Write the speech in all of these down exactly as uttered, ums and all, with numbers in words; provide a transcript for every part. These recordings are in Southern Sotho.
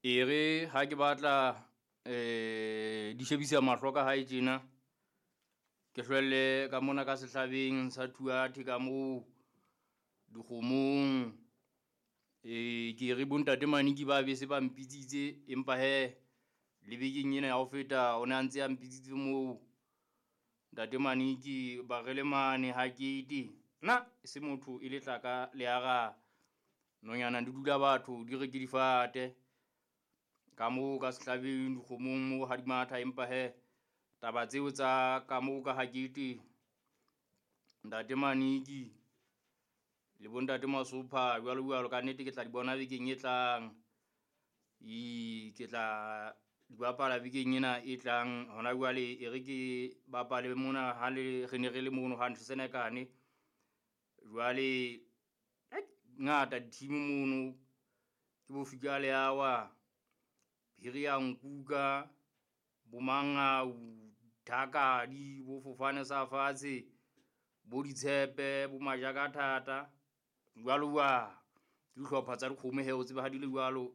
Ere ha ke batla eh di shebisa mahlo ka hae tjena ke hlwelle ka mona ka sehlabeng sa Thuathe ka moo dikgomong eh ke re bontate Maniki ba bese ba mpitsitse empa he le bekeng ena ya ho feta o ne a ntse a mpitsitse moo ntate Maniki ba re le mane ha kete nna e se motho e le tlaka le ara nonyana di dula batho di re ke difate ka moo ka sehlabeng dikgomong moo ha di matha empa he taba tseo tsa ka moo ka hakete ntate Maniki le bontate Masopha jwalo jwalo ka nnete ke tla di bona bekeng e tlang e ke tla di bapala bekeng ena e tlang hona jwale e re ke bapale mona ha le re ne re le mono hantle Senekane jwale ngata di-team mono ke bo fika le awa phiri ya nkuka bomangau thakadi bo fofane sa fatshe bo ditshepe bo majaka thata jwalo jwalo ke dihlopha tsa dikgomo he o tsebe ha di le jwalo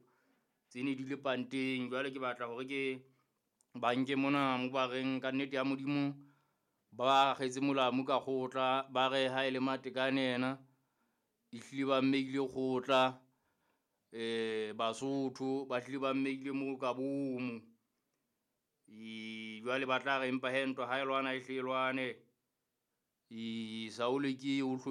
tse ne di le panteng jwale ke batla hore ke ba nke mona mo ba reng ka nnete ya Modimo ba kgetse molamu ka kgotla ba re ha e le Matekane yena ehlile ba mmeile kgotla eh Basotho ba hlile ba mmeile mo ka bomo e jwale ba tla re empa he ntwa ha e lwana e hle e lwane e Saule ke o